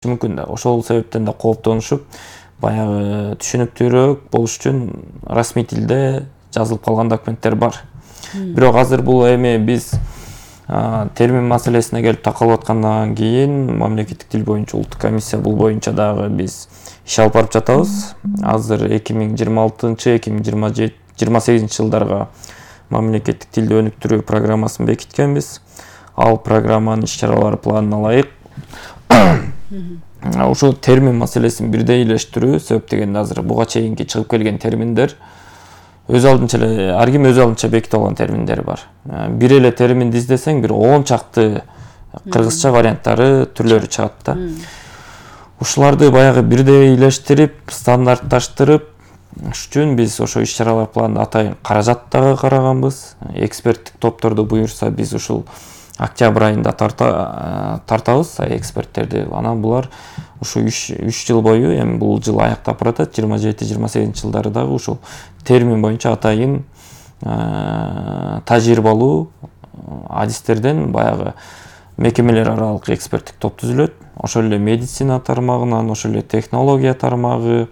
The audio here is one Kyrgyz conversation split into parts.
мүмкүн да. Ошол себептен да кооптонушуп, баягы түшүнүктүүрөөк болуш үчүн расмий тилде жазылып калган документтер бар. Бирок азыр бул эми биз термин маселесине келип такалып аткандан кийин мамлекеттик тил боюнча улуттук комиссия бул боюнча дагы биз иш алып барып жатабыз. Азыр 2026-2028 жылдарга мамлекеттик тилди өнүктүрүү программасын бекиткенбиз. Ал программанын иш-чаралары планына ылайык ошо термин маселесин бирдейлештирүү, себеп дегенде азыр буга чейинки чыгып келген терминдер өз алдынча эле ар ким өз алдынча бекитип алган терминдер бар. Бир эле терминди издесең, бир 10 чакты кыргызча варианттары, түрлөрү чыгат да. Ушуларды баягы бирдейлештирип, стандартташтырып үчүн биз ошо иш-чаралар планында атайын каражат дагы караганбыз. Эксперттик топторду буюрса биз ушул октябрь айында тартабыз эксперттерди. Анан булар ушу 3 жыл бою, эми бул жыл аяктап баратат, 27-28 жылдары дагы ушул термин боюнча атайын тажрыйбалуу адистерден баягы мекемелер аралык эксперттик топ түзүлөт. Ошол эле медицина тармагынан, ошол эле технология тармагы,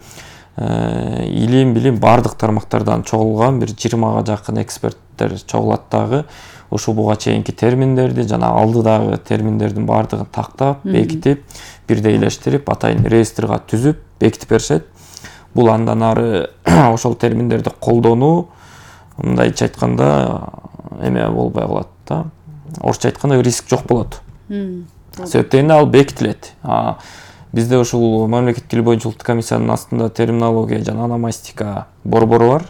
илим бардык тармактардан чогулган бир 20га жакын эксперттер чогулат дагы. Ушул буга чейинки терминдерди жана алдыдагы терминдердин бардыгын тактап, бекитип, бирдейлештирип, атайын реестрга түзүп, бекитип беришет. Бул андан ары ошол терминдерди колдонуу, мындайча айтканда, эме болбой калат да. Орусча айтканда риск жок болот. Себеп дегенде ал бекитилет. Бизде ушул мамлекеттик тил боюнча улуттук комиссиянын астында терминология жана ономастика борбору бар.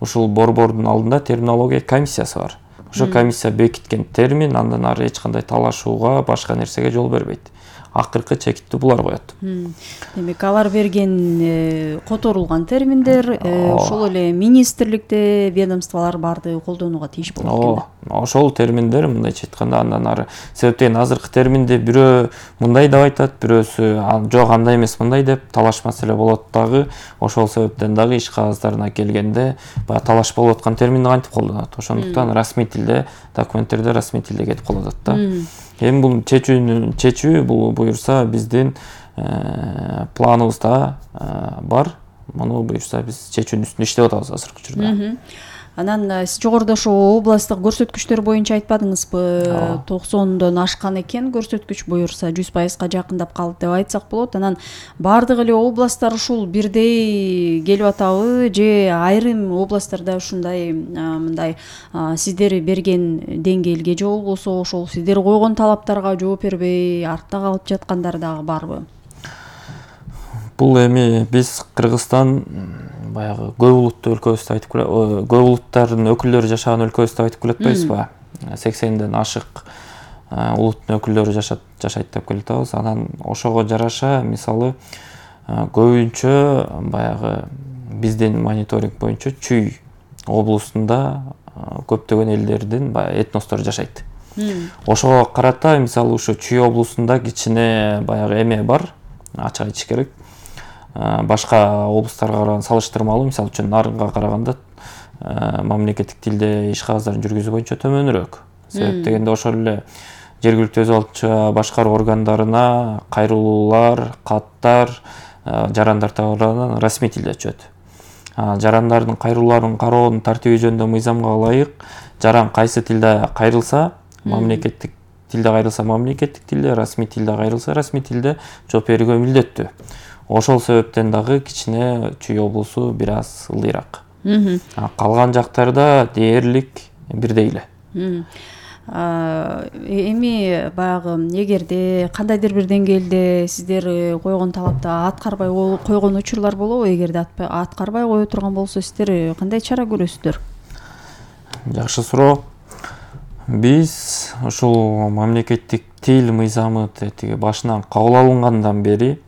Ушул борбордун алдында терминология комиссиясы бар. Ошо комиссия бекиткен термин андан ары эч кандай талашууга, башка нерсеге жол бербейт. Акыркы чекитти булар коет. Демек, алар берген которулган терминдер ошол эле министрликте ведомстволор барды колдонууга тийиш болот экен. Ошол терминдер мындайча айтканда андан ары себептен азыркы терминди бирөө мындай деп айтат, бирөөсү жок андай эмес мындай деп талаш маселе болот дагы. Ошол себептен дагы иш кагаздарына келгенде баягы талаш болуп аткан терминди кантип колдонот. Ошондуктан расмий тилде документтерде расмий тилде кетип калып атат да. Эми бул чечүү бул буюрса биздин планыбызда бар. Муну буюрса биз чечүүнүн үстүндө иштеп атабыз азыркы учурда. Анан сиз жогоруда ошо областтык көрсөткүчтөр боюнча айтпадыңызбы? 90дон ашкан экен көрсөткүч, буюрса 100%га жакындап калды деп айтсак болот. Анан бардык эле областтар ушул бирдей келип атабы же айрым областтарда ушундай мындай сиздер берген деңгээлге же болбосо ошол сиздер койгон талаптарга жооп бербей артта калып жаткандар дагы барбы? Бул эми биз Кыргызстан баягы көп улуттуу өлкөбүз деп айтып көп улуттардын өкүлдөрү жашаган өлкөбүз деп айтып келатпайбызбы? 80ден ашык улуттун өкүлдөрү жашайт деп келатабыз. Анан ошого жараша мисалы көбүнчө баягы биздин мониторинг боюнча Чүй облусунда көптөгөн элдердин этностору жашайт. Ошого карата мисалы ушу Чүй облусунда кичине баягы эме бар, ачык айтыш керек. Башка облустарга салыштырмалуу, мисалы үчүн Нарынга караганда мамлекеттик тилде иш кагыздарын жүргүзүү боюнча төмөнүрөөк. Себеп дегенде ошол эле жергиликтүү өз алдынча башкаруу органдарына кайрылуулар, каттар, жарандар тарабынан расмий тилде түшөт. Жарандардын кайрылууларын кароонун тартиби жөнүндө мыйзамга ылайык жаран кайсы тилде кайрылса, мамлекеттик тилде кайрылса мамлекеттик тилде, расмий тилде кайрылса расмий тилде жооп берүүгө милдеттүү. Ошол себептен дагы кичине Чүй облусу бир аз ылдыйраак. Калган жактарда дээрлик бирдей эле. Эми баягы эгерде кандайдыр бир деңгээлде сиздер койгон талапты аткарбай койгон учурлар болобу? Эгерде аткарбай кое турган болсо сиздер кандай чара көрөсүздөр? Жакшы суроо. Биз ушул мамлекеттик тил мыйзамы тиги башынан кабыл алынгандан бери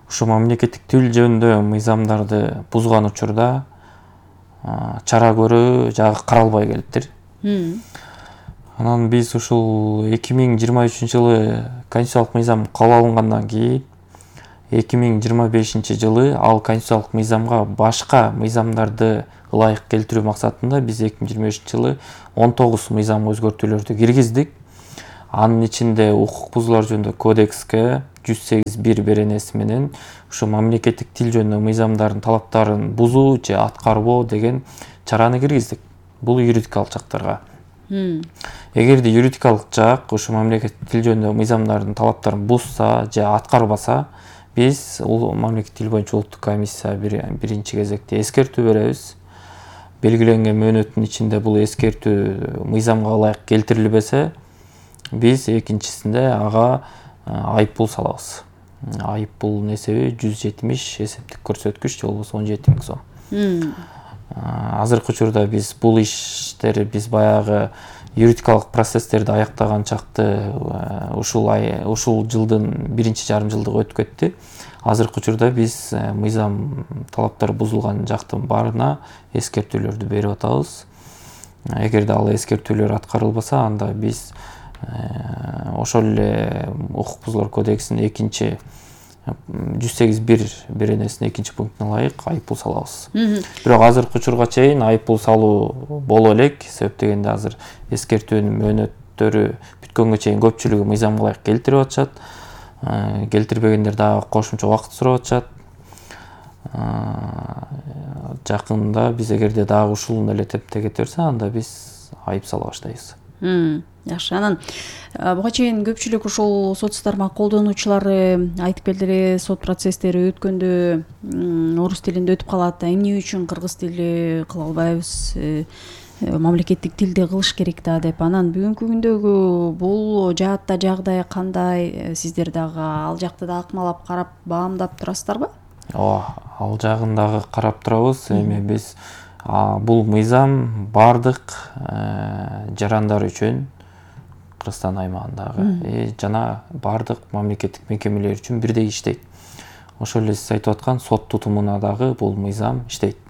ушу мамлекеттик тил жөнүндө мыйзамдарды бузган учурда чара көрүү жагы каралбай келиптир. Анан биз ушул 2023 жылы конституциялык мыйзам кабыл алынгандан кийин 2025 жылы ал конституциялык мыйзамга башка мыйзамдарды ылайык келтирүү максатында биз 2025 жылы 19 мыйзам өзгөртүүлөрдү киргиздик. Анын ичинде укук бузуулар жөнүндө кодекске, 108.1 беренеси менен ушу мамлекеттик тил жөнүндө мыйзамдардын талаптарын бузуу же аткарбоо деген чараны киргиздик. Бул юридикалык жактарга. Эгерде юридикалык жак ушу мамлекеттик тил жөнүндө мыйзамдардын талаптарын бузса же аткарбаса, биз мамлекеттик тил боюнча улуттук комиссия биринчи кезекте эскертүү беребиз. Белгиленген мөөнөттүн ичинде бул эскертүү мыйзамга ылайык келтирилбесе, биз экинчисинде ага айыппул салабыз. Айыппулдун эсеби 170 эсептик көрсөткүч же болбосо 17.000 сом. Азыркы учурда биз бул иштери биз баягы юридикалык процесстерди аяктаган чакты ушул жылдын биринчи жарым жылдыгы өтүп кетти. Азыркы учурда биз мыйзам талаптары бузулган жактын баарына эскертүүлөрдү берип атабыз. Эгерде ал эскертүүлөр аткарылбаса, анда биз ошол эле укук бузуулар кодексинин 108.1 беренесинин 2-пунктуна ылайык айыппул салабыз. Бирок азыркы учурга чейин айыппул салуу боло элек, себеп дегенде азыр эскертүүнүн мөөнөттөрү бүткөнгө чейин көпчүлүгү мыйзамга ылайык келтирип атышат. Келтирбегендер дагы кошумча убакыт сурап атышат. Жакында биз эгерде дагы ушул эле темпте кете берсе, анда биз айып сала баштайбыз. Жакшы. Анан буга чейин көпчүлүк ушул сот тармак колдонуучулары айтып келди эле, сот процесстери өткөндө орус тилинде өтүп калат, эмне үчүн кыргыз тили кыла албайбыз, мамлекеттик тилде кылыш керек да деп. Анан бүгүнкү күндөгү бул жаатта жагдай кандай? Сиздер дагы ал жакты да акмалап карап баамдап турасыздарбы? Ал жагын дагы карап турабыз. Эми биз бул мыйзам бардык жарандар үчүн Кыргызстан аймагындагы жана бардык мамлекеттик мекемелер үчүн бирдей иштейт. Ошол эле сиз айтып аткан сот тутумуна дагы бул мыйзам иштейт.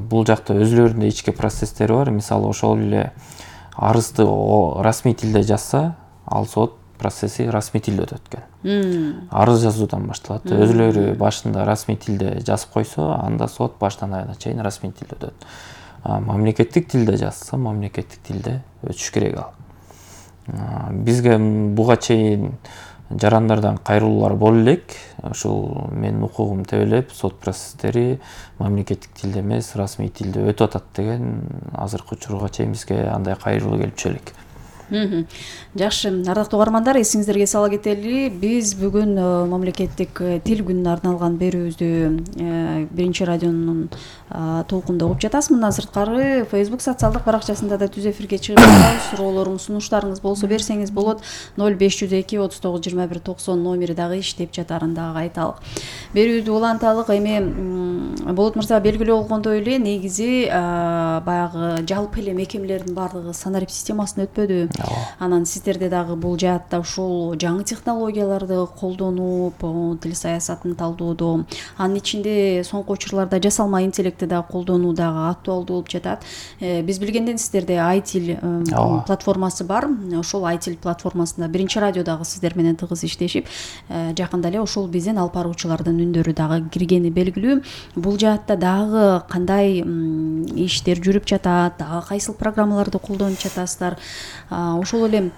Бул жакта өзүлөрүнүн ички процесстери бар. Мисалы, ошол эле арызды расмий тилде жазса, ал сот процесси расмий тилде өтөт экен. Арыз жазуудан башталат. Өзүлөрү башында расмий тилде жазып койсо, анда сот баштан аягына чейин расмий тилде өтөт. Мамлекеттик тилде жазса, мамлекеттик тилде өтүш керек ал. Бизге буга чейин жарандардан кайрылуулар боло элек. Ушул менин укугум тебелеп, сот процесстери мамлекеттик тилде эмес, расмий тилде өтүп атат деген азыркы учурга чейин бизге андай кайрылуу келип түшө элек. Жакшы, ардактуу угармандар, эсиңиздерге сала кетели, биз бүгүн мамлекеттик тил күнүнө арналган берүүбүздү биринчи радионун толкунда угуп жатасыз. Мындан сырткары Facebook социалдык баракчасында да түз эфирге чыгып жатабыз. Суроолоруңуз, сунуштарыңыз болсо берсеңиз болот. 0502 39 21 90 номери дагы иштеп жатарын дагы айталык. Берүүбүздү уланталык. Эми Болот мырза белгилүү болгондой эле, негизи баягы жалпы эле мекемелердин баардыгы санарип системасына өтпөдү. Анан сиздерде дагы бул жаатта ушул жаңы технологияларды колдонуп, тил саясатын талдоодо, анын ичинде соңку учурларда жасалма интеллектти да колдонуу дагы актуалдуу болуп жатат. Биз билгенден сиздерде iTil платформасы бар. Ошол iTil платформасында биринчи радио дагы сиздер менен тыгыз иштешип, жакында эле ошол биздин алып баруучулардын үндөрү дагы киргени белгилүү. Бул жаатта дагы кандай иштер жүрүп жатат, дагы кайсыл программаларды колдонуп жатасыздар? Ошол эле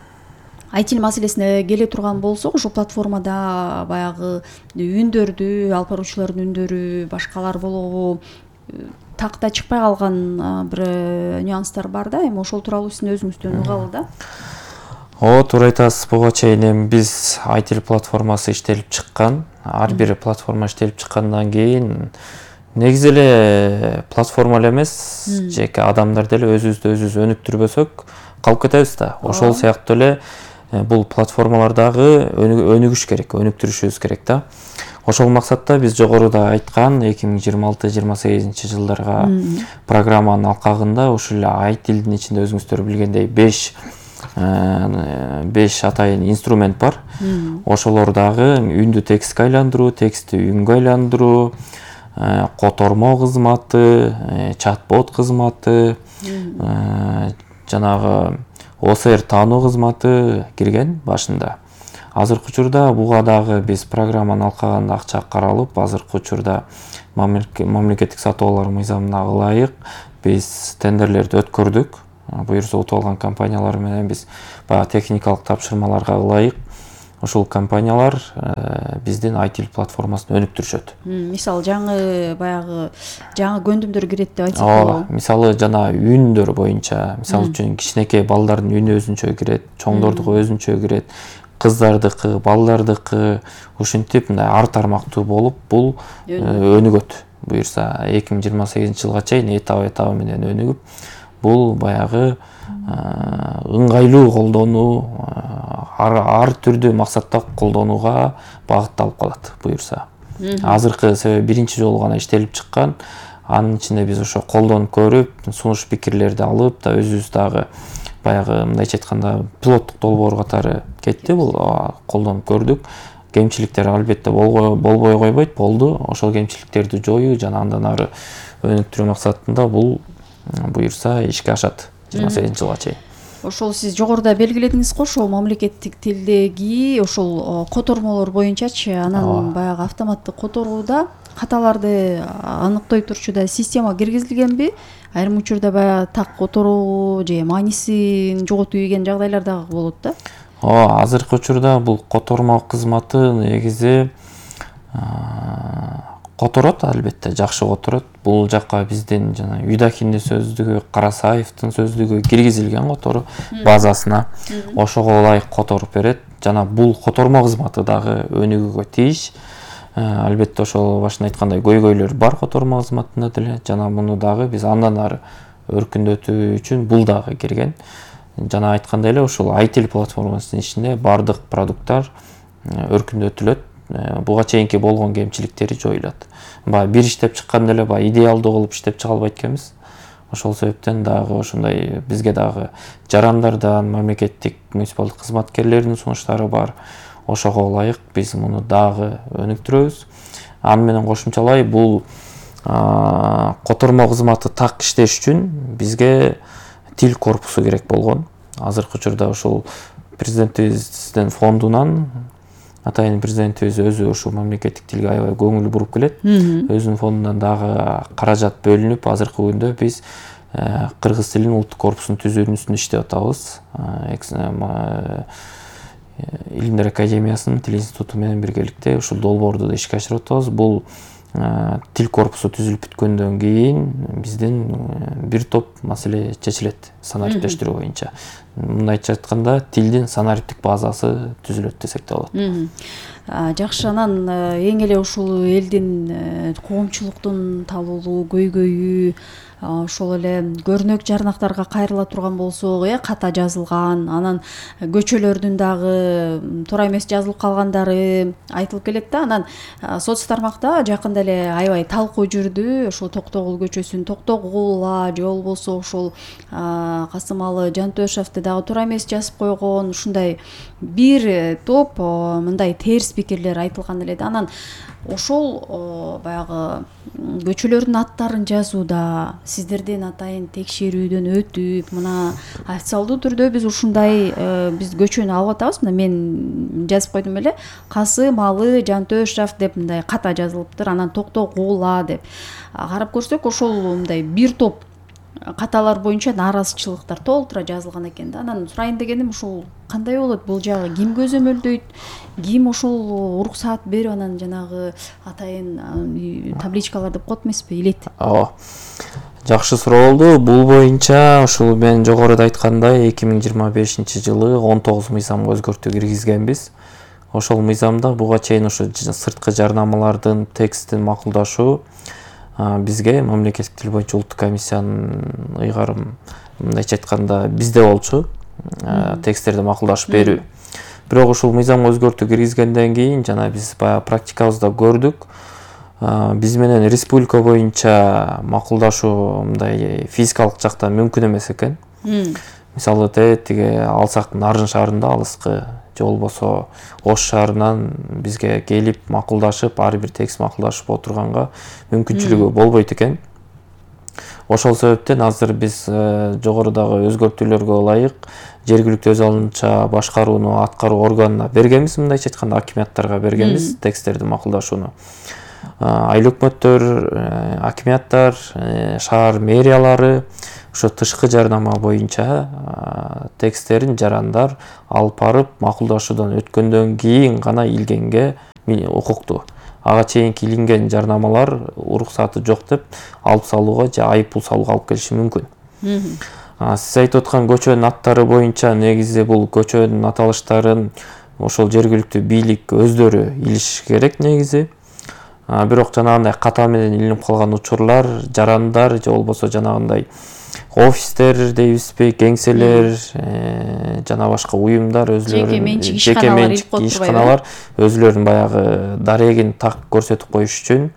iTil маселесине келе турган болсок, ошол платформада баягы үндөрдү, алып баруучулардын үндөрү башкалар болгобу такта чыкпай калган бир нюанстар бар да. Эми ошол тууралуу сиздин өзүңүздөн угалы да. Туура айтасыз. Буга чейин биз iTil платформасы иштелип чыккан. Ар бир платформа иштелип чыккандан кийин негизи эле платформа эле эмес, жеке адамдар деле өзүбүздү өзүбүз өнүктүрбөсөк калып кетебиз да. Ошол сыяктуу эле бул платформалар дагы өнүгүш керек, өнүктүрүшүбүз керек да. Ошол максатта биз жогоруда айткан 2026-28 жылдарга программанын алкагында ушул эле iTilдин ичинде өзүңүздөр билгендей 5 атайын инструмент бар. Ошолор дагы үндү текстке айландыруу, текстти үнгө айландыруу, котормо кызматы, чат-бот кызматы, жанагы OCR таануу кызматы кирген башында. Азыркы учурда буга дагы биз программанын алкагында акча каралып, азыркы учурда мамлекеттик сатып алуулар мыйзамына ылайык биз тендерлерди өткөрдүк. Буюрса утуп алган компаниялар менен биз баягы техникалык тапшырмаларга ылайык ошол компаниялар биздин IT платформасын өнүктүрүшөт. Мисалы жаңы көндүмдөр кирет деп айтсак болобу? Мисалы жана үндөр боюнча, мисалы үчүн кичинекей балдардын үнү өзүнчө кирет, чоңдордуку өзүнчө кирет, кыздардыкы, балдардыкы ушинтип мындай ар тармактуу болуп бул өнүгөт. Буюрса 2028-жылга чейин этап менен өнүгүп, бул баягы ыңгайлуу колдонуу, ар түрдүү максатта колдонууга багытталып калат буюрса. Азыркы себеби биринчи жолу гана иштелип чыккан, анын ичинде биз ошо колдонуп көрүп, сунуш пикирлерди алып да өзүбүз дагы баягы мындайча айтканда пилоттук долбоор катары кетти, бул колдонуп көрдүк. Кемчиликтер албетте болбой койбойт, болду. Ошол кемчиликтерди жоюу жана андан ары өнүктүрүү максатында бул буюрса ишке ашат 28-жылга чейин. Ошол сиз жогоруда белгиледиңиз го, ошол мамлекеттик тилдеги ошол котормолор боюнчачы, анан баягы автоматтык которууда каталарды аныктой турчу да система киргизилгенби? Айрым учурда баягы так которуу же маанисин жоготуп ийген жагдайлар дагы болот да. Азыркы учурда бул котормо кызматы негизи которот, албетте жакшы которот. Бул жакка биздин жана Юдахиндин сөздүгү, Карасаевдин сөздүгү киргизилген которуу базасына. Ошого ылайык которуп берет жана бул котормо кызматы дагы өнүгүүгө тийиш. Албетте ошол башында айткандай көйгөйлөр бар котормо кызматында деле, жана муну дагы биз андан ары өркүндөтүү үчүн бул дагы кирген. Жана айткандай эле ошол IT платформасынын ичинде бардык продукттар өркүндөтүлөт. Буга чейинки болгон кемчиликтери жоюлат. Бир иштеп чыкканда эле идеалдуу кылып иштеп чыга албайт экенбиз. Ошол себептен дагы ошондой бизге дагы жарандардан, мамлекеттик муниципалдык кызматкерлердин сунуштары бар. Ошого ылайык биз муну дагы өнүктүрөбүз. Аны менен кошумчалай бул котормо кызматы так иштеш үчүн бизге тил корпусу керек болгон. Азыркы учурда ушул президентибиздин фондунан атайын президентибиз өзү ушул мамлекеттик тилге аябай көңүл буруп келет. Өзүнүн фондунан дагы каражат бөлүнүп, азыркы күндө биз кыргыз тилинин улуттук корпусун түзүүнүн үстүндө иштеп атабыз. Илимдер академиясынын тил институту менен биргеликте ушул долбоорду да ишке ашырып атабыз. Бул тил корпусу түзүлүп бүткөндөн кийин биздин бир топ маселе чечилет санариптештирүү боюнча. Мындайча айтканда тилдин санариптик базасы түзүлөт десек да болот. Жакшы, анан эң эле ушул элдин коомчулуктун талуулу көйгөйү ошол эле көрнөк жарнактарга кайрыла турган болсок, ката жазылган, анан көчөлөрдүн дагы туура эмес жазылып калгандары айтылып келет да. Анан соц тармакта жакында эле аябай талкуу жүрдү. Ошол Токтогул көчөсүн Токтогула же болбосо ошол Касымалы Жантөшевди дагы туура эмес жазып койгон, ушундай бир топ мындай терс пикирлер айтылган эле да. Анан ошол баягы көчөлөрдүн аттарын жазууда сиздерден атайын текшерүүдөн өтүп, мына официалдуу түрдө биз ушундай биз көчөнү алып атабыз. Мына мен жазып койдум эле, Касымалы Жантөшев деп мындай ката жазылыптыр, анан Токтогула деп. Карап көрсөк, ошол мындай бир топ каталар боюнча нааразычылыктар толтура жазылган экен да. Анан сурайын дегеним, ушул кандай болот? Бул жагы ким көзөмөлдөйт? Ким ошол уруксаат берип анан жанагы атайын табличкалар деп коет эмеспи, илет? Жакшы суроо болду. Бул боюнча ушул мен жогоруда айткандай 2025-жылы 19 мыйзамга өзгөртүү киргизгенбиз. Ошол мыйзамда буга чейин ушу сырткы жарнамалардын текстин макулдашуу бизге мамлекеттик тил боюнча улуттук комиссиянын ыйгарым мындайча айтканда бизде болчу, тексттерди макулдашып берүү. Бирок ушул мыйзамга өзгөртүү киргизгенден кийин жана биз баягы практикабызда көрдүк, биз менен республика боюнча макулдашуу мындай физикалык жактан мүмкүн эмес экен. Мисалы тиги алсак Нарын шаарында алыскы же болбосо Ош шаарынан бизге келип макулдашып, ар бир текст макулдашып отурганга мүмкүнчүлүгү болбойт экен. Ошол себептен азыр биз жогорудагы өзгөртүүлөргө ылайык жергиликтүү өз алынча башкарууну аткаруу органына бергенбиз, мындайча айтканда акиматтарга бергенбиз тексттерди макулдашууну. айыл өкмөттөр, акиматтар, шаар мэриялары ошо тышкы жарнама боюнча тексттерин жарандар алып барып макулдашуудан өткөндөн кийин гана илгенге укуктуу. Ага чейинки илинген жарнамалар уруксаты жок деп алып салууга же айып пул салууга алып келиши мүмкүн. Сиз айтып аткан көчөнүн аттары боюнча негизи бул көчөнүн аталыштарын ошол жергиликтүү бийлик өздөрү илиши керек негизи. Бирок жанагындай ката менен илинип калган учурлар, жарандар же болбосо жанагындай офистер дейбизби, кеңселер, жана башка уюмдар өзлөрүнүн жеке менчик ишканалар өзлөрүнүн баягы дарегин так көрсөтүп коюш үчүн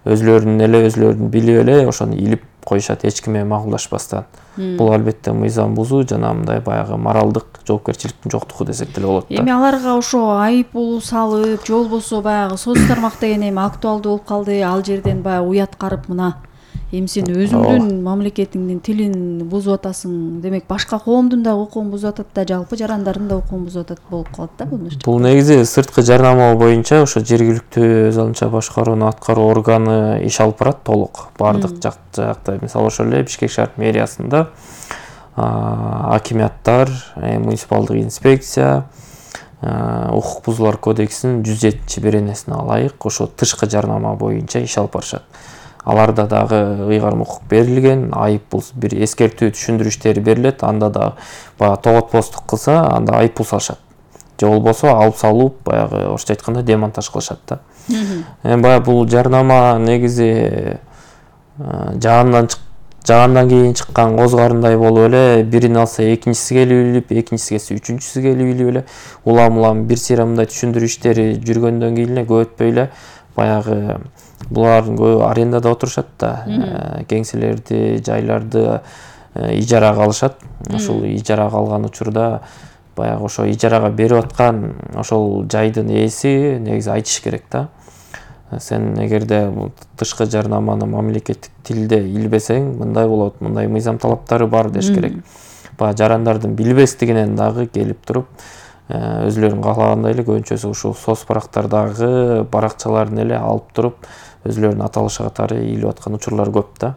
өзлөрүн билип эле ошону илип коюшат, эч ким менен макулдашпастан. Бул албетте мыйзам бузуу жана мындай баягы моралдык жоопкерчиликтин жоктугу десек деле болот да. Эми аларга ошо айып пул салып, же болбосо баягы соц тармак деген эми актуалдуу болуп калды. Ал жерден баягы уят карып мына эми сен өзүңдүн мамлекетиңдин тилин бузуп атасың, демек башка коомдун да укугун бузуп атат да, жалпы жарандардын да укугун бузуп атат болуп калат да бул нерсе. Бул негизи сырткы жарнама боюнча ошо жергиликтүү өз алынча башкарууну аткаруу органы иш алып барат толук. Бардык жакта, мисалы ошол эле Бишкек шаар мэриясында акиматтар, муниципалдык инспекция укук бузуулар кодексинин 107-беренесине ылайык ошо тышкы жарнама боюнча иш алып барышат. Аларда дагы ыйгарым укук берилген, айып пул бир эскертүү түшүндүрүштери берилет, анда да баягы тоготпостук кылса, анда айып пул салышат. Же болбосо алып салып, баягы орусча айтканда демонтаж кылышат да. Баягы бул жарнама негизи жагандан кийин чыккан коз карындай болуп эле, бирин алса экинчиси келип илип, экинчиси келсе үчүнчүсү келип илип эле, улам бир мындай түшүндүрүү иштери жүргөндөн кийин эле көп өтпөй эле баягы булардын көбү арендада отурушат да, кеңселерди, жайларды ижарага алышат. Ошол ижарага алган учурда баягы ошо ижарага берип аткан ошол жайдын ээси негизи айтыш керек да. Сен эгерде тышкы жарнаманы мамлекеттик тилде илбесең, мындай болот, мындай мыйзам талаптары бар деш керек. Баягы жарандардын билбестигинен дагы келип туруп өзлөрүн каалагандай эле көбүнчөсү ушул соц барактардагы баракчаларын эле алып туруп өзлөрүнүн аталышы катары илип аткан учурлар көп да.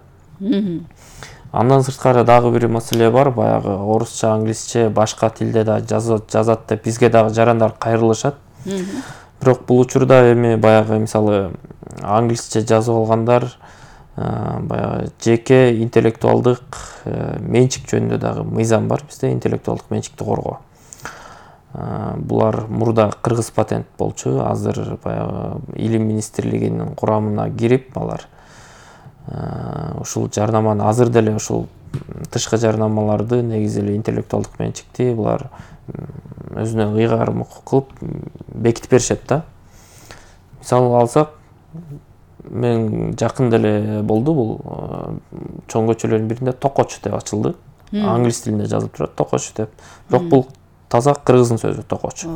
Андан сырткары дагы бир маселе бар, баягы орусча, англисче, башка тилде да жазат деп бизге дагы жарандар кайрылышат. Бирок бул учурда эми баягы мисалы англисче жазып алгандар баягы жеке интеллектуалдык менчик жөнүндө дагы мыйзам бар бизде, интеллектуалдык менчикти коргоо. Булар мурда кыргыз патент болчу, азыр баягы илим министрлигинин курамына кирип алар ушул жарнаманы азыр деле ушул тышкы жарнамаларды негизи эле интеллектуалдык менчикти булар өзүнө ыйгарым укук кылып бекитип беришет да. Мисалы алсак, мен жакын деле болду бул чоң көчөлөрдүн биринде Токоч деп ачылды. Англис тилинде жазылып турат Токоч деп. Бирок бул таза кыргыздын сөзү Токоч.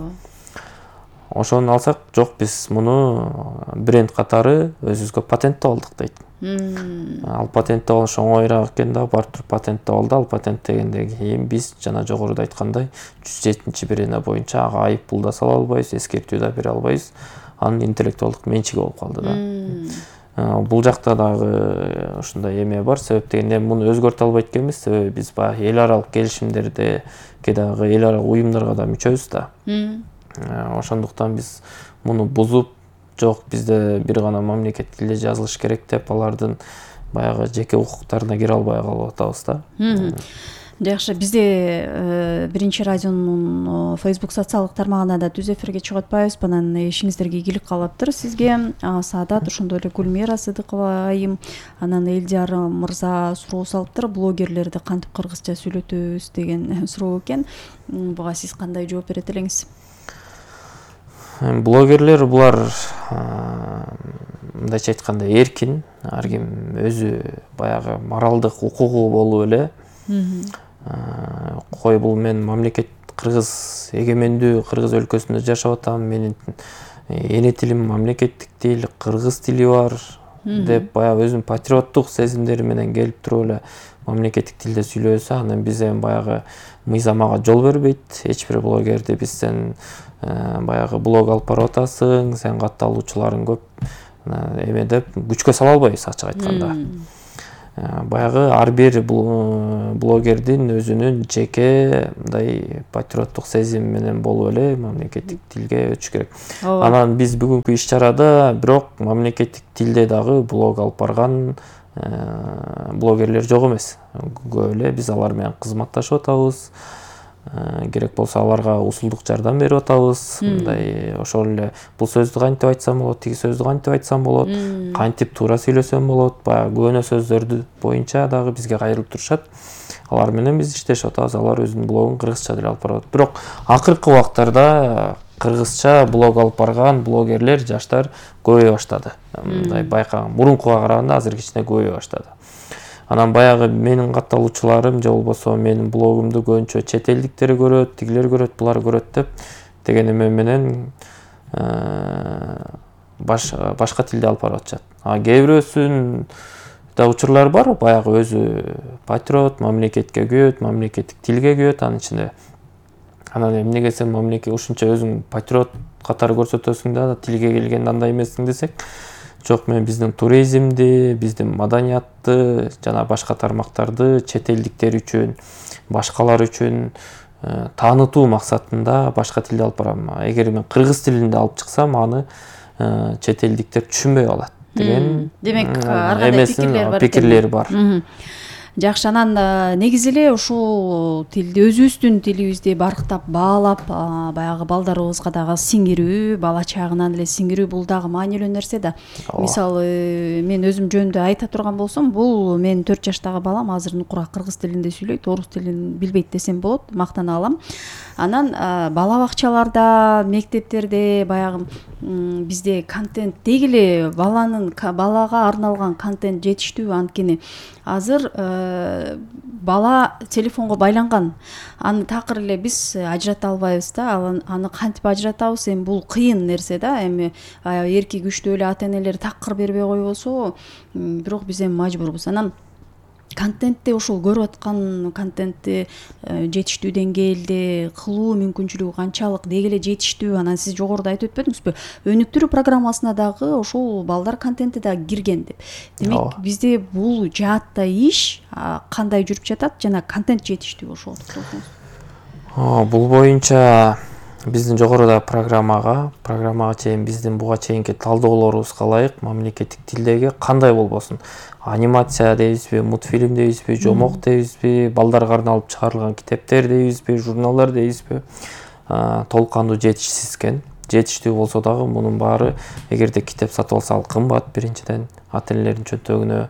Ошону алсак, жок биз муну бренд катары өзүбүзгө патенттеп алдык дейт. Ал патенттеп алыш оңоюраак экен да, барып туруп патенттеп алды. Ал патенттегенден кийин биз жана жогоруда айткандай 107-берене боюнча ага айып пул да сала албайбыз, эскертүү да бере албайбыз. Анын интеллектуалдык менчиги болуп калды да. Бул жакта дагы ошондой эме бар, себеп дегенде муну өзгөртө албайт экенбиз, себеби биз баягы эл аралык келишимдерде, дагы эл аралык уюмдарга да мүчөбүз да. Ошондуктан биз муну бузуп, жок бизде бир гана мамлекет тилде жазылыш керек деп алардын баягы жеке укуктарына кире албай калып атабыз да. Жакшы, бизде биринчи радионун Facebook социалдык тармагына да түз эфирге чыгып атпайбыз, анан ишиңиздерге ийгилик каалаптыр сизге. Саадат, ошондой эле Гүлмира Сыдыкова айым, анан Элдияр мырза суроо салыптыр, блогерлерди кантип кыргызча сүйлөтөбүз деген суроо экен. Буга сиз кандай жооп берет элеңиз? Блогерлер булар мындайча айтканда эркин, ар ким өзү баягы моралдык укугу болуп эле кой бул мен мамлекет кыргыз эгемендүү кыргыз өлкөсүндө жашап атам, менин эне тилим мамлекеттик тил, кыргыз тили бар деп баягы өзүнүн патриоттук сезимдери менен келип туруп эле мамлекеттик тилде сүйлөсө, анан биз эми баягы мыйзам ага жол бербейт. Эч бир блогерди биз сен баягы блог алып барып атасың, сен катталуучуларың көп эме деп күчкө сала албайбыз ачык айтканда. Баягы ар бир блогердин өзүнүн жеке мындай патриоттук сезим менен болуп эле мамлекеттик тилге өтүш керек. Анан биз бүгүнкү иш-чарада бирок мамлекеттик тилде дагы блог алып барган блогерлер жок эмес. Көп эле биз алар менен кызматташып атабыз. Керек болсо аларга усулдук жардам берип атабыз. Мындай ошол эле бул сөздү кантип айтсам болот, тиги сөздү кантип айтсам болот, кантип туура сөйлөсөм болот, баягы көөнө сөздөрдү боюнча дагы бизге кайрылып турушат. Алар менен биз иштешип атабыз. Алар өзүнүн блогун кыргызча деле алып барат. Бирок акыркы убактарда кыргызча блог алып барган блогерлер, жаштар көбөйө баштады. Мындай байкаган, мурункуга караганда азыр кичине көбөйө баштады. Анан баягы менин катталуучуларым же болбосо менин блогумду көбүнчө чет элдиктер көрөт, тигилер көрөт, булар көрөт деп деген эме менен башка тилде алып барып атышат. Кээ бирөөсүн да учурлар бар, баягы өзү патриот, мамлекетке күйөт, мамлекеттик тилге күйөт анын ичинде. Анан эмнеге сен мамлекет ушунча өзүң патриот катары көрсөтөсүң да тилге келгенде андай эмессиң десек, жок, мен биздин туризмди, биздин маданиятты жана башка тармактарды чет элдиктер үчүн, башкалар үчүн таанытуу максатында башка тилде алып барам. Эгер мен кыргыз тилинде алып чыксам, аны чет элдиктер түшүнбөй калат деген. Демек, ар кандай пикирлер бар. Жакшы, анан негизи эле ушул тилди, өзүбүздүн тилибизди барктап, баалап, баягы балдарыбызга дагы сиңирүү, бала чагынан эле сиңирүү бул дагы маанилүү нерсе да. Мисалы, мен өзүм жөнүндө айта турган болсом, бул менин 4 жаштагы балам азыр нукура кыргыз тилинде сүйлөйт, орус тилин билбейт десем болот, мактана алам. Анан бала бакчаларда, мектептерде баягы бизде контент деги эле балага арналган контент жетиштүү, анткени азыр бала телефонго байланган. Аны такыр эле биз ажырата албайбыз да. Аны кантип ажыратабыз? Эми бул кыйын нерсе да. Эми эрки күчтүү эле ата энелер такыр бербей койбосо, бирок биз эми мажбурбуз. Анан контентти, ушул көрүп аткан контентти жетиштүү деңгээлде кылуу мүмкүнчүлүгү канчалык, деги эле жетиштүү. Анан сиз жогоруда айтып өтпөдүңүзбү? Өнүктүрүү программасына дагы ушул балдар контенти дагы кирген деп. Демек, бизде бул жаатта иш кандай жүрүп жатат жана контент жетиштүү ошого токтолсоңуз. Бул боюнча биздин жогоруда программага чейин биздин буга чейинки талдоолорубузга ылайык мамлекеттик тилдеги кандай болбосун, анимация дейбизби, мультфильм дейбизби, жомок дейбизби, балдарга арналып чыгарылган китептер дейбизби, журналдар дейбизби, толук кандуу жетишсиз экен. Жетиштүү болсо дагы мунун баары, эгерде китеп сатып алса ал кымбат, биринчиден ата энелердин чөнтөгүнө.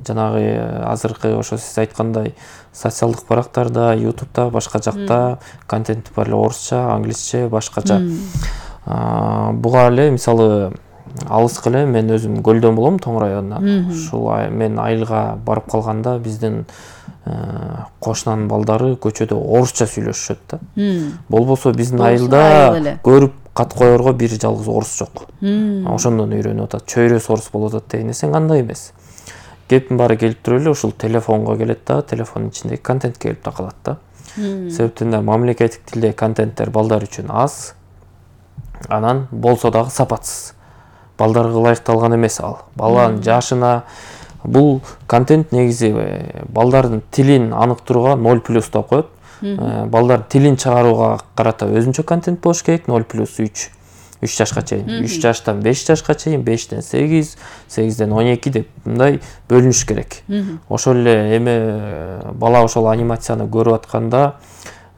Жанагы азыркы ошо сиз айткандай социалдык барактарда, ютубта, башка жакта контент бар эле, орусча, англисче, башкача. Буга эле мисалы алыска эле мен өзүм Көлдөн болом, Тоң районунан. Ушул мен айылга барып калганда биздин кошунанын балдары көчөдө орусча сүйлөшүшөт да. Болбосо биздин айылда көрүп кат коерго бир жалгыз орус жок. Ошондон үйрөнүп атат. Чөйрөс орус болуп атат деген эсең андай эмес. Кептин баары келип туруп эле ушул телефонго келет да, телефондун ичиндеги контент келип такалат да. Себептен да мамлекеттик тилдеги контенттер балдар үчүн аз, анан болсо дагы сапатсыз. Балдарга ылайыкталган эмес ал. Баланын жашына бул контент негизи балдардын тилин аныктырууга 0+ деп коет. Балдар тилин чыгарууга карата өзүнчө контент болуш керек, 0+3. 3 жашка чейин, 3 жаштан 5 жашка чейин, 5ден 8, 8ден 12 деп мындай бөлүнүш керек. Ошол эле эме бала ошол анимацияны көрүп атканда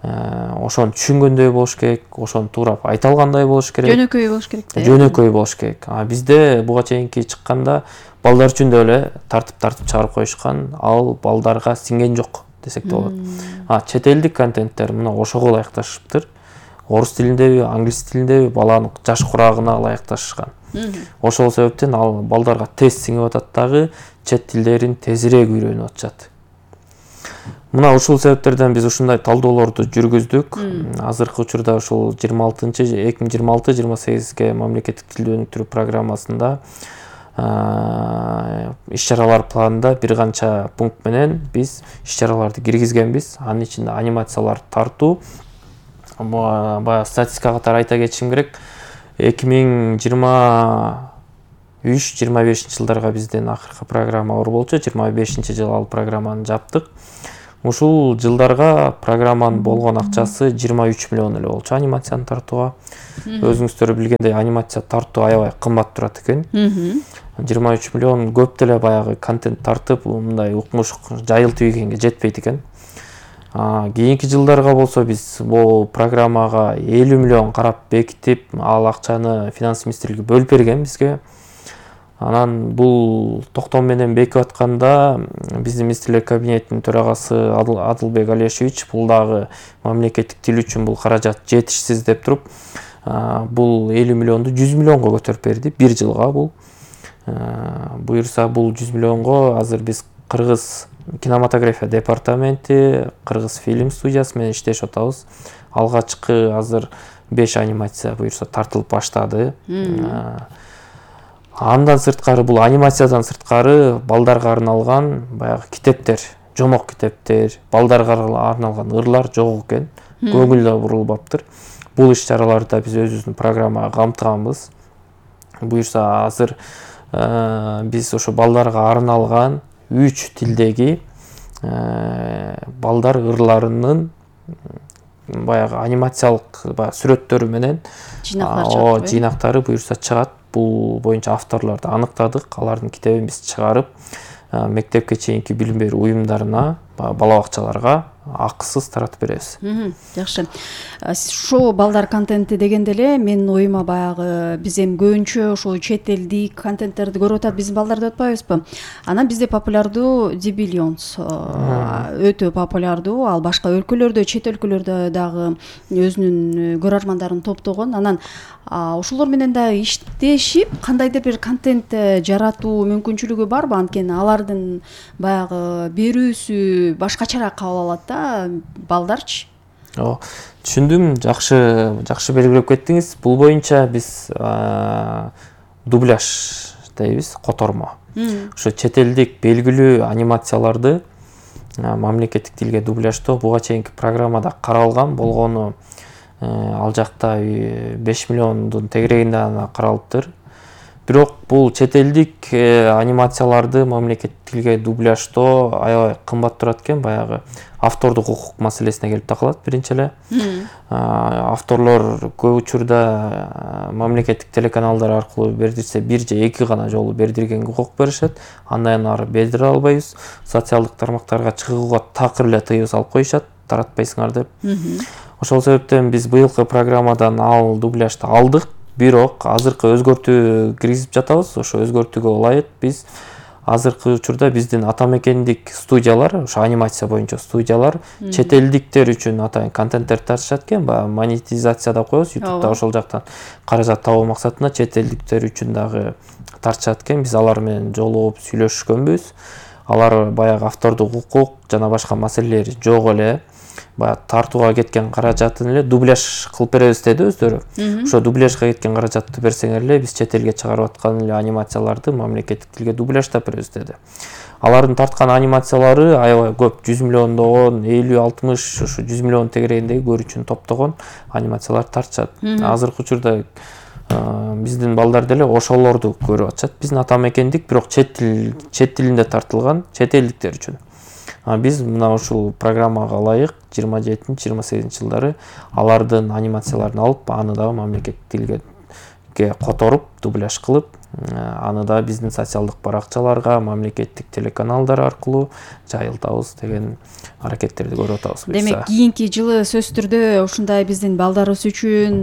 ошону түшүнгөндөй болуш керек, ошону туурап айта алгандай болуш керек. Жөнөкөй болуш керек да. Жөнөкөй болуш керек. Бизде буга чейинки чыкканда балдар үчүн да эле тартып чыгарып коюшкан, ал балдарга сиңген жок десек де болот. Чет элдик контенттер мына ошого ылайыкташыптыр. Орус тилиндеби, англис тилиндеби баланын жаш курагына ылайыкташышкан. Ошол себептен ал балдарга тез сиңип атат дагы, чет тилдерин тезирээк үйрөнүп атышат. Мына ушул себептерден биз ушундай талдоолорду жүргүздүк. Азыркы учурда ушул 2026-28ге мамлекеттик тилди өнүктүрүү программасында иш-чаралар планында бир канча пункт менен биз иш-чараларды киргизгенбиз. Анын ичинде анимацияларды тартуу. Баягы статистика катары айта кетишим керек. 2023-25 жылдарга биздин акыркы программа болчу. 25-жыл ал программаны жаптык. Ушул жылдарга программанын болгон акчасы 23 миллион эле болчу анимацияны тартууга. Өзүңүздөр билгендей анимация тартуу аябай кымбат турат экен. 23 миллион көп деле баягы контент тартып, мындай укмуш жайылтып ийгенге жетпейт экен. Кийинки жылдарга болсо биз бул программага 50 миллион карап бекитип, ал акчаны финанс министрлиги бөлүп берген бизге. Анан бул токтом менен бекип атканда биздин министрлер кабинетинин төрагасы Адылбек Алешевич бул дагы мамлекеттик тил үчүн бул каражат жетишсиз деп туруп, бул 50 миллионду 100 миллионго көтөрүп берди бир жылга. Бул буюрса бул 100 миллионго азыр биз Кыргыз кинематография департаменти, Кыргыз фильм студиясы менен иштешип атабыз. Алгачкы азыр 5 анимация буюрса тартылып баштады. Андан сырткары бул анимациядан сырткары балдарга арналган баягы китептер, жомок китептер, балдарга арналган ырлар жок экен. Көңүл да бурулбаптыр. Бул иш-чараларды да биз өзүбүздүн программага камтыганбыз. Буюрса азыр биз ошо балдарга арналган 3 тилдеги балдар ырларынын баягы анимациялык сүрөттөрү менен жыйнактары буюрса чыгат. Бул боюнча авторлорду аныктадык. Алардын китебин биз чыгарып, мектепке чейинки билим берүү уюмдарына, бала бакчаларга акысыз таратып беребиз. Жакшы. Ошо балдар контенти дегенде эле менин оюма баягы биз эми көбүнчө ошо чет элдик контенттерди көрүп атат биздин балдар деп атпайбызбы? Анан бизде популярдуу The Billions өтө популярдуу. Ал башка өлкөлөрдө, чет өлкөлөрдө дагы өзүнүн көрөрмандарын топтогон. Анан ошолор менен дагы иштешип, кандайдыр бир контент жаратуу мүмкүнчүлүгү барбы? Анткени алардын баягы берүүсү башкачараак кабыл алат да балдарчы. Түшүндүм. Жакшы белгилеп кеттиңиз. Бул боюнча биз дубляж дейбиз, котормо. Ошо чет элдик белгилүү анимацияларды мамлекеттик тилге дубляждоо буга чейинки программада каралган болгону ал жакта 5 миллиондун тегерегинде ана каралыптыр. Бирок бул чет элдик анимацияларды мамлекеттик тилге дубляждоо аябай кымбат турат экен. Баягы автордук укук маселесине келип такалат биринчи эле. Авторлор көп учурда мамлекеттик телеканалдар аркылуу бердирсе, бир же эки гана жолу бердиргенге укук беришет. Андан ары бердире албайбыз. Социалдык тармактарга чыгууга такыр эле тыюу салып коюшат, таратпайсыңар деп. Ошол себептен биз быйылкы программадан ал дубляжды алдык. Бирок азыркы өзгөртүү киргизип жатабыз. Ошо өзгөртүүгө ылайык биз азыркы учурда биздин ата мекендик студиялар, ошо анимация боюнча студиялар чет элдиктер үчүн атайын контенттер тартышат экен. Баягы монетизация деп коебуз. YouTube'да ошол жактан каражат табуу максатында чет элдиктер үчүн дагы тартышат экен. Биз алар менен жолугуп сүйлөшкөнбүз. Алар баягы автордук укук жана башка маселелери жок эле. Баягы тартууга кеткен каражатын эле дубляж кылып беребиз деди өздөрү. Ошо дубляжга кеткен каражатты берсеңер эле биз чет элге чыгарып аткан эле анимацияларды мамлекеттик тилге дубляждап беребиз деди. Алардын тарткан анимациялары аябай көп, 100 миллиондогон, 50-60, ошо 100 миллион тегерегиндеги көрүүчүнү топтогон анимациялар тартышат. Азыркы учурда биздин балдар деле ошолорду көрүп атышат. Биздин ата мекендик, бирок чет тилинде тартылган чет элдиктер үчүн. Биз мына ушул программага ылайык 27-28 жылдары алардын анимацияларын алып, аны да мамлекеттик тилге которуп, дубляж кылып, аны да биздин социалдык баракчаларга, мамлекеттик телеканалдар аркылуу жайылтабыз деген аракеттерди көрүп атабыз. Демек, кийинки жылы сөзсүз түрдө ушундай биздин балдарыбыз үчүн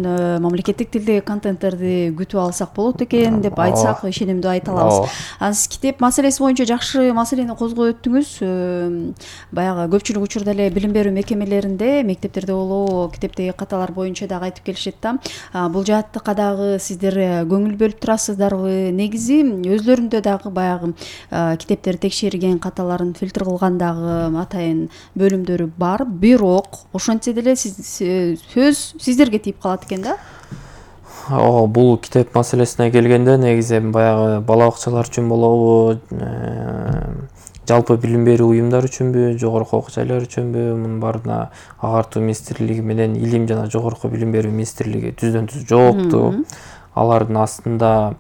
мамлекеттик тилдеги контенттерди күтүп алсак болот экен деп айтсак, ишенимдүү айта алабыз. Сиз китеп маселеси боюнча жакшы маселени козгоп өттүңүз. Баягы көпчүлүк учурда эле билим берүү мекемелеринде, мектептерде болобу, китептеги каталар боюнча дагы айтып келишет да. Бул жааттыкка дагы сиздер көңүл бөлүп турасыздарбы? Негизи өзлөрүндө дагы баягы китептерди текшерген, каталарын фильтр кылган дагы атайын бөлүмдөрү бар. Бирок ошентсе деле сөз сиздерге тийип калат экен да. Бул китеп маселесине келгенде негизи баягы бала бакчалар үчүн болобу, жалпы билим берүү уюмдар үчүнбү, жогорку окуу жайлар үчүнбү, мунун баарына агартуу министрлиги менен илим жана жогорку билим берүү министрлиги түздөн-түз жоопту. алардын астында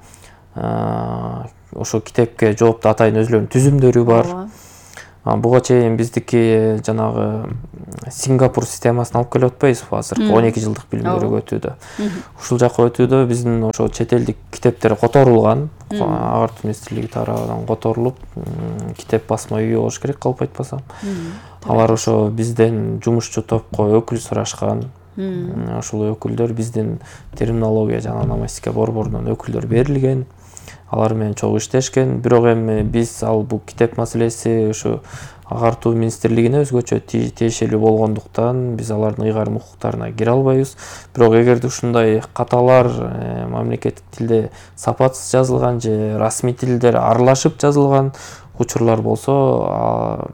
ошо китепке жооптуу атайын өзүлөрүнүн түзүмдөрү бар. Буга чейин биздики жанагы Сингапур системасын алып келип атпайбызбы азыркы 12 жылдык билим берүү өтүүдө. Ушул жака өтүүдө биздин ошо чет элдик китептер которулган, агартуу министрлиги тарабынан которулуп, китеп басма үйү болуш керек калп айтпасам. Алар ошо бизден жумушчу топко өкүл сурашкан. Ошол өкүлдөр биздин терминология жана ономастика борборунан өкүлдөр берилген. Алар менен чогуу иштешкен. Бирок эми биз бул китеп маселеси ошо агартуу министрлигине өзгөчө тиешелүү болгондуктан биз алардын ыйгарым укуктарына кире албайбыз. Бирок эгерде ушундай каталар мамлекеттик тилде сапатсыз жазылган же расмий тилдер аралашып жазылган учурлар болсо,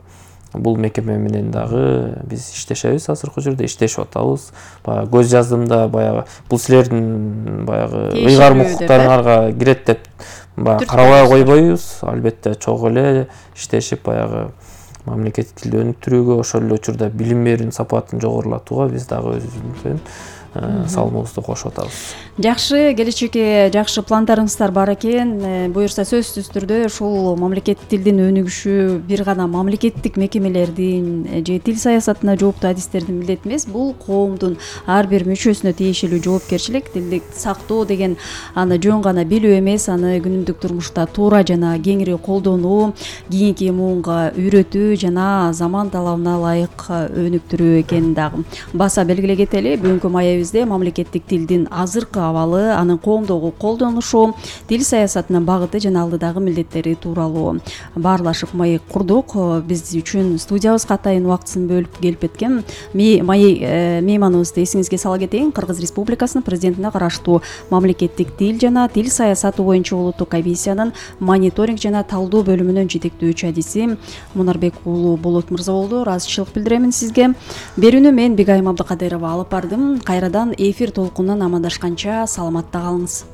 бул мекеме менен дагы биз иштешебиз, азыркы учурда иштешип атабыз. Баягы көз жаздымда баягы бул силердин баягы ыйгарым укуктарыңарга кирет деп карабай койбойбуз. Албетте чогуу эле иштешип баягы мамлекеттик тилди өнүктүрүүгө, ошол эле учурда билим берүүнүн сапатын жогорулатууга биз дагы өзүбүздүн салымыбызды кошуп атабыз. Жакшы, келечекке жакшы пландарыңыздар бар экен. Буюрса сөзсүз түрдө ушул мамлекеттик тилдин өнүгүшү бир гана мамлекеттик мекемелердин же тил саясатына жооптуу адистердин милдети эмес, бул коомдун ар бир мүчөсүнө тиешелүү жоопкерчилик. Тилди сактоо деген аны жөн гана билүү эмес, аны күнүмдүк турмушта туура жана кеңири колдонуу, кийинки муунга үйрөтүү жана заман талабына ылайык өнүктүрүү экенин дагы баса белгилей кетели. Бүгүнкү маегибизде мамлекеттик тилдин азыркы абалы, анын коомдогу колдонушу, тил саясатынын багыты жана алдыдагы милдеттери тууралуу баарлашып маек курдук. Биз үчүн студиябызга атайын убактысын бөлүп келип кеткен мейманыбызды эсиңизге сала кетейин. Кыргыз Республикасынын президентине караштуу мамлекеттик тил жана тил саясаты боюнча улуттук комиссиянын мониторинг жана талдоо бөлүмүнүн жетектөөчү адиси Мунарбек уулу Болот мырза болду. Ыраазычылык билдирем сизге. Берүүнү мен Бегайым Абдыкадырова алып бардым. Кайрадан эфир толкунунан амандашканча саламатта калыңыз.